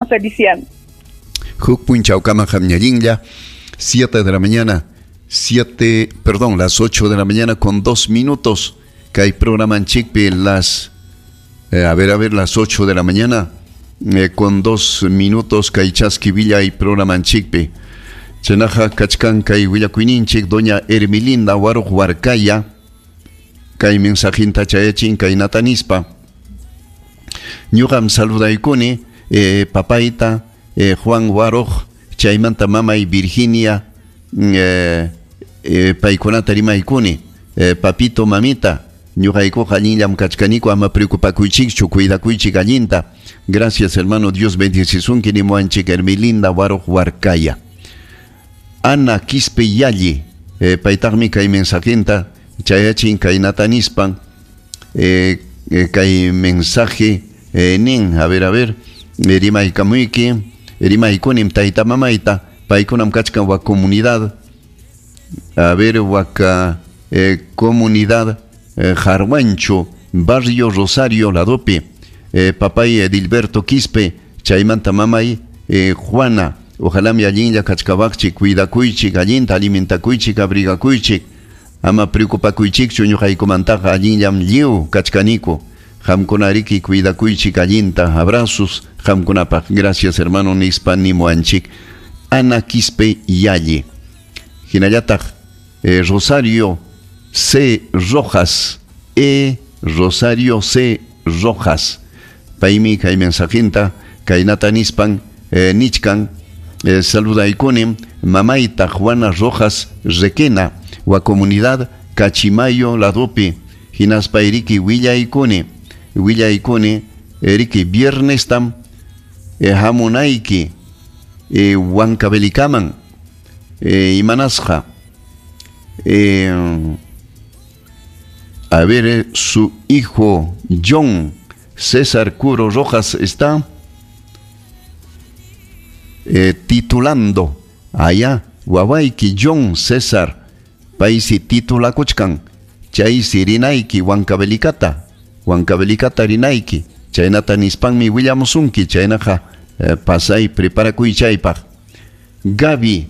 Feliciano. Huk punchawkama qamñallinlla, 7 de la mañana, 7, perdón, las 8 de la mañana con 2 minutos. Kay programanchikpi las, a ver, las 8 de la mañana con 2 minutos kay chaski villay programanchikpi. Chaynaqa kachkan kay willakuyninchik doña Hermilinda Waruq Huarcaya kay mensajinta chayachin kay natanispa. Ñuqam saludaykuni papayta Juan Waruq chaymanta mamay Virginia paykunata rimaykuni papito mamita ñuqaykuqa allinllam kachkaniku ama preocupakuychikchu cuidakuychik allinta. Gracias hermano, Dios bendecisunki nimuanchik Hermilinda Waruq Huarcaya. Ana Quispe Yalli paytaqmi kay mensajinta chayachin kay natanispan kay mensaje nin a ver rimaykamuyki rimaykunim tayta mamayta paykunam kachkan wak comunidad a ver waka comunidad Jarwancho barrio Rosario ladopi papay Edilberto Quispe chaymanta mamay Juana. Ojalá mi allinlla kachkawaqchik cuidakuychik allinta alimentakuychik abrigakuychik ama preocupakuychikchu ñuqaykumantaqa allinllam lliw kachkaniku qamkunariki cuidakuychik allinta. Abrazos qamkunapaq. Gracias hermano nispa nimuanchik Ana Quispe Yalli. Hinallataq Rosario C. Rojas Rosario C. Rojas paymi kay mensajinta kaynata nispan nichkan saludaykunim mamayta Juana Rojas Requena wa comunidad Cachimayo ladopi hinaspa iriki willaykuni eriki viernes tam hamunayki Huancavelicaman imanasqa a ver su hijo John César Curo Rojas está titulando allá wawayki John César paysi titulakuchkan chaysi rinayki Huancavelicata rinayki chaynata nispanmi willamusunki chaynaqa pasay preparakuy chaypaq. Gaby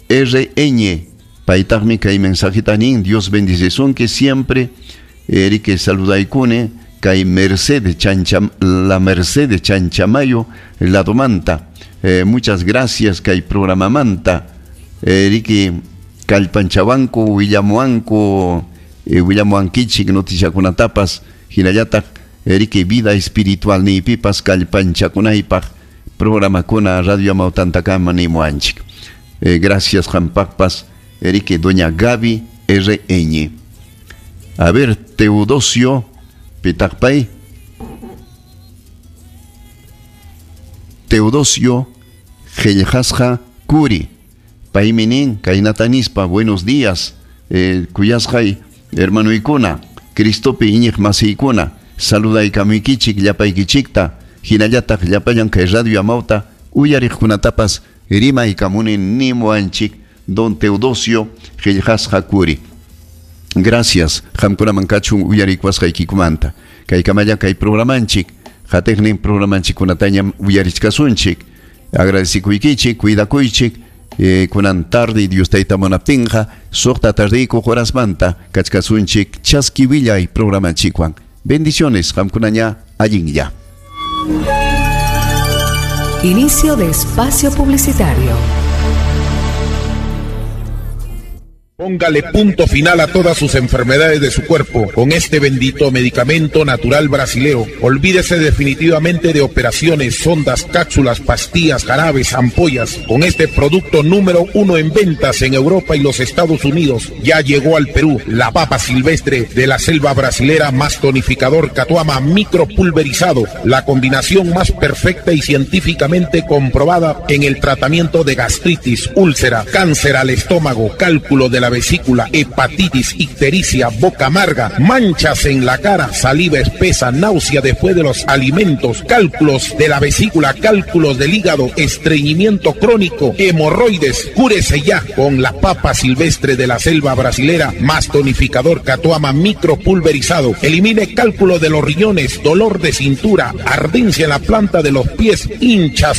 R.Ñ paytaqmi kay mensajita nin Dios bendicisunki siempre erike saludaykuni kay Mercedes Chancha la Mercedes Chanchamayo ladomanta. Muchas gracias kay programamanta eriki kallpanchawanku willamuanku willamuankichik noticiakunatapas hinallataq eriki vida espiritual niypipas kallpanchakunaypaq programakuna Radio Amautantakama nimuanchik. Gracias qampaqpas eriki doña Gaby R.Ñ. A ver Teodosio pitaqpay Teodosio Qillqasqa Kuri paymi nin kaynata nispa buenos días kuyasqay hermanoykuna Cristopi iñiq masiykuna saludaykamuykichik llapaykichikta hinallataq llapallan kay Radio Amauta uyariqkunatapas rimaykamuni nimuanchik don Teodosio Qillqasqa Kuri. Gracias qamkunaman kachun uyarikwasqaykikumanta kaykamalla kay programanchik qatiqnin programanchikkunatañam uyarichkasunchik. Agradecikuykichik cuidakuychik kunan tarde Dios tayta munaptinqa suqta tardiyku horasmanta kachkasunchik chaski willay programanchikwan. Bendiciones qamkunaña allinlla. Inicio de espacio publicitario. Póngale punto final a todas sus enfermedades de su cuerpo con este bendito medicamento natural brasilero. Olvídese definitivamente de operaciones, sondas, cápsulas, pastillas, jarabes, ampollas. Con este producto número 1 en ventas en Europa y los Estados Unidos, ya llegó al Perú la papa silvestre de la selva brasilera más tonificador Catuama micropulverizado, la combinación más perfecta y científicamente comprobada en el tratamiento de gastritis, úlcera, cáncer al estómago, cálculo de la vesícula, hepatitis, ictericia, boca amarga, manchas en la cara, saliva espesa, náusea después de los alimentos, cálculos de la vesícula, cálculos del hígado, estreñimiento crónico, hemorroides. Cúrese ya con la papa silvestre de la selva brasilera más tonificador Catuama micropulverizado. Elimine cálculo de los riñones, dolor de cintura, ardencia en la planta de los pies, hinchazón.